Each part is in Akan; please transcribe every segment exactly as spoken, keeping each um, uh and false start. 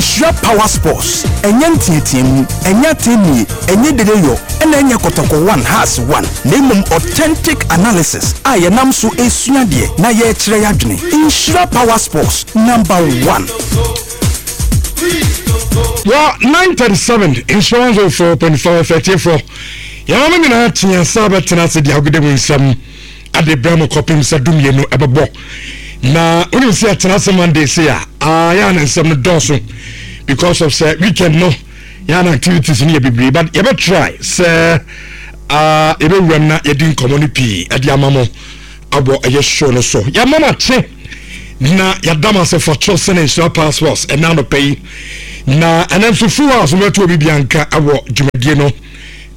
Nhyira Power Sports, ɛnyɛ nteateamu, ɛnyɛ atɛnnie, ɛnyɛ dedeyɔ, ɛna ɛnyɛ Kɔtɔkɔ one Hearts one, na mmom authentic analysis a yɛnam so esua deɛ na yɛrekyerɛ yɛadwene. Nhyira Power Sports, number one. Wɔ nine thirty-seven, Nhyira one oh four point five thirty-four, yɛn mo nyinaa tea sa bɛtena ase de agode mu nsɛm ade brɛ mo kɔpem sɛ dumienu ɛbɛbɔ. Na wonim sɛ yɛtena ase Monday se a, yɛa ne nsɛm no dɔɔso because of sɛ weekend no yɛa na activities no yɛ bebree, but yɛbɛtry sɛ yɛbɛwuram na yɛdi nkɔmmɔ no pii ɛde ama mo abɔ ɛyɛ show no so. Yɛma mo akye na yɛda mo ase for choosing Nhyira Passports ɛna anɔpɛ yi. Na ɛnɛ nso full house mɛto obi bianka ɛwɔ dwumadie no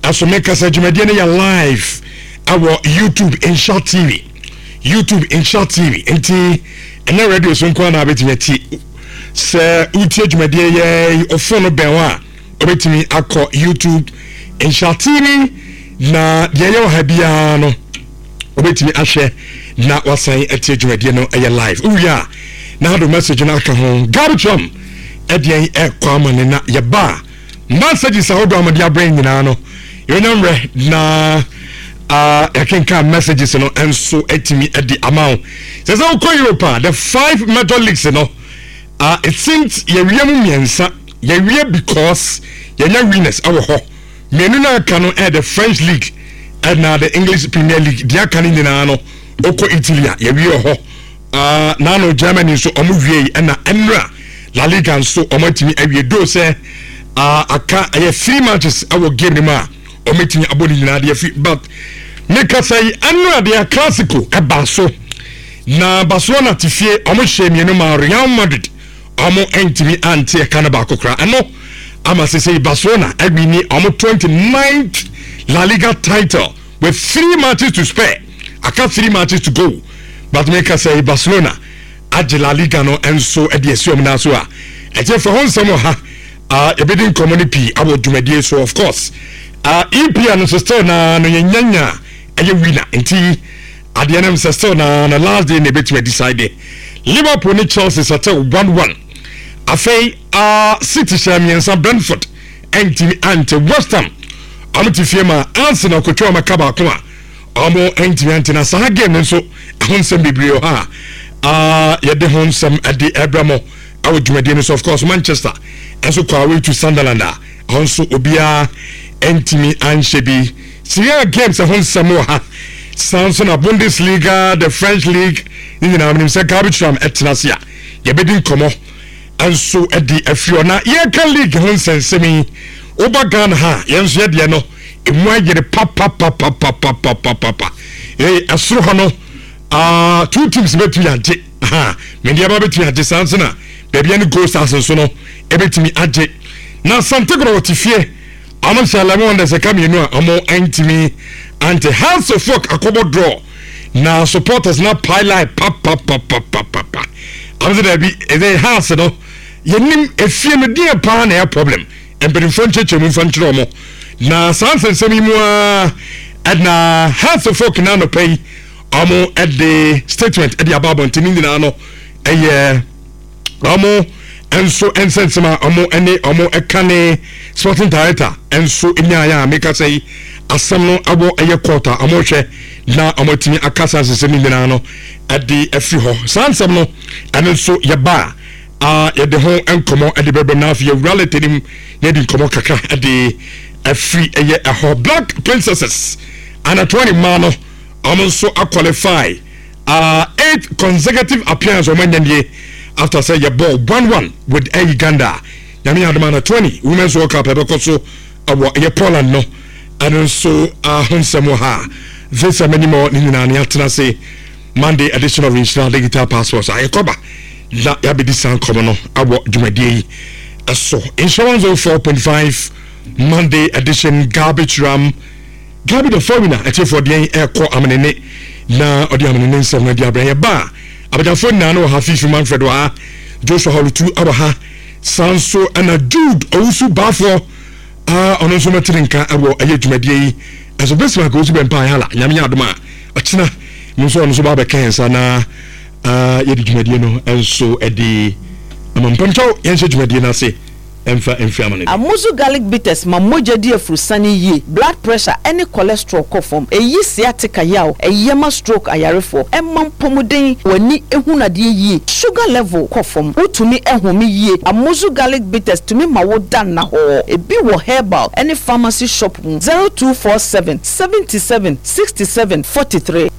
ɛso. Meka sɛ dwumadie no yɛ live ɛwɔ YouTube Nhyira T V, YouTube Nhyira T V, nti ɛnɛ radio so nko na abɛtumi ati. Sɛ wotie dwumadie yɛ ɔfo no bɛn hɔ a, wobɛtumi akɔ YouTube Nhyira T V na deɛ ɛyɛ wɔ ha biara no wobɛtumi ahwɛ na wasan atie dwumadie no ɛyɛ live. Wowie a, na ado message no aka ho. Gabi Trump ɛdeɛn ɛkɔ ama ne na yɛba a, messages ahodoɔ a mode abrɛ nyinaa no, yɛnya mmerɛ na uh, yɛkenka messages no nso atumi de ama wo. Sɛ sɛ wokɔ Europe a, the five major leagues no, uh, it seems yɛwie mu mmiɛnsa yɛwie because yɛnya winners ɛwɔ hɔ. Mmienu no aka no ɛyɛ the French League ɛna the English Premier League. Deɛ aka no nyinaa no, wokɔ Italy a, yɛwie wɔ hɔ. uh, naano Germany nso ɔmo wie, ɛna ɛnura La Liga nso ɔmo atumi awie do sɛ uh, aka ɛyɛ three matches ɛwɔ game no mu a ɔmo atumi abɔ ne nyinaa deɛ fi. But mekasa yi, ɛnura deɛ Classico ɛba so na Barcelona te fie, ɔmo hyɛ mmienu ma Real Madrid, ɔmo ntumi ante ɛka no baako koraa. Ɛno ama sese Barcelona awin ɔmo twenty ninth La Liga title with three matches to spare. Aka three matches to go, but meka sɛ Barcelona agye La Liga no nso de asi ɔmo nan so a ɛkyɛ fɛ ho nsɛm wɔ ha. uh, yɛbɛdi nkɔmmɔ no pii awɔ dwumadie so. Of course, uh, E P L no nso still na no yɛnyanya ɛyɛ winner, nti adeɛ no sɛ still na na last day na ɛbɛtumi decide. Liverpool ne Chelsea sɛtɛ one one. Afei uh, City hyɛ mmiɛnsa, Brentford ɛntumi ante. West Ham ɔmo te fie ma Arsenal kotwa ɔmo aka baako a ɔmo ɛntumi ante. Na saa game no nso ɛho nsɛm bebree wɔ ha a yɛde ho nsɛm ɛde ɛbrɛ mo ɛwɔ dwumadie no so. Of course, Manchester ɛnso kɔ away to Sunderland a ɛho nso obiara ɛntumi anhyɛ bi. Serie A games ɛho nsɛm wɔ ha, saa nso na Bundesliga, the French League ne nyinaa. Menim sɛ Gabi Tram ɛtena ase a yɛbɛdi nkɔmmɔ nso de afiri hɔ. Na yɛka league ho nsɛnsɛm yi, woba Ghana ha, yɛn nso yɛdeɛ no emu ayere papapapapapapapa. Ee, ɛsoro hɔ no, uh, two teams bɛtumi agye ha, Medeama bɛtumi agye, saa nso na baabi ne Gold Stars nso no ɛbɛtumi agye. Na Asante Kɔtɔkɔ wɔte fie, ɔmo hyɛ Eleven Wonders ɛka mmienu a ɔmo ntumi ante. Hearts of Oak akɔbɔ draw na supporters na pile papapapapapa. Ɔmo sɛ daabi, ɛdɛ Hearts no yɛnim efie no deɛ paa na ɛyɛ problem. Mpanimfoɔ nkyɛnkyɛn mu nfa nkyerɛ ɔmo. Na saa nsɛnsɛm yi mu a, ɛna Hearts of Oak na anɔpɛ yi ɔmo ɛde statement ɛde aba abɔnten. Ne nyinaa no ɛyɛ ɔmo nso nsɛnsɛm a ɔmo ɛne ɔmo ɛka ne sporting director nso nyaayɛ a meka sɛ yi asɛm no awɔ ɛyɛ court a ɔmo hwɛ na ɔmo atumi akasa nsɛnsɛm no nyinaa no ɛde afiri hɔ. Saa nsɛm no ɛno nso yɛba a, yɛde ho nkɔmɔ ɛde bɛbɛm. Na afei yɛwura letter nim na yɛde nkɔmɔ kakra ɛde afiri ɛyɛ ɛhɔ. Black Princesses under twenty mmaa no, ɔmo nso aqualify, uh, eight consecutive appearance ɔmo anya nie after sɛ yɛbɔ one one with Air Uganda. Nyame adom, under twenty Women's World Cup ɛbɛkɔ so ɛwɔ ɛyɛ Poland no, ɛno nso ho nsɛm wɔ ha. This anim ne nyinaa ne atena ase Monday edition of Nhyira Digital Passports a yɛkɔba na yɛabɛdi saa nkɔmmɔ no awɔ dwumadie yi ɛso. Nhyira one oh four point five, Monday edition, Garbage Ram, Gabi the Foreigner. Ɛtiɛfoɔ, deɛn ɛkɔ amenene na ɔde amenene nsɛm no de abrɛ yɛba a, abagyafoɔ nyinaa no wɔ ha. Fifi Manfred wɔ ha, Joshua Holutu awɔ ha, saa nso ɛna Jude Owusu Baafoɔ a ɔno nso mɛtene nka ɛwɔ ɛyɛ dwumadie yi ɛso. Bismarck Owusu Bɛmpa Ayala, Nyame yɛ adom a, ɔkyena no nso ɔno nso ba bɛka yɛn nsa na yɛde dwumadie no nso ɛde Ama mpamkyɛw, yɛnhyɛ dwumadie no ase ɛmfa mfiri ama no. Amuzu Garlic Bitters ma mogya di afurusane yie, blood pressure ne cholesterol kɔ fam, ɛyi sciatica yaw, ɛyɛ ma stroke ayarefoɔ, ɛma mpɔmuden, w'ani ehunu adeɛ yie, sugar level kɔ fam, wotumi ɛhome yie. Amuzu Garlic Bitters tumi ma wo da nnahɔɔ. Ebi wɔ herbal ne pharmacy shop mu. zero two four seven seventy seven sixty seven forty three.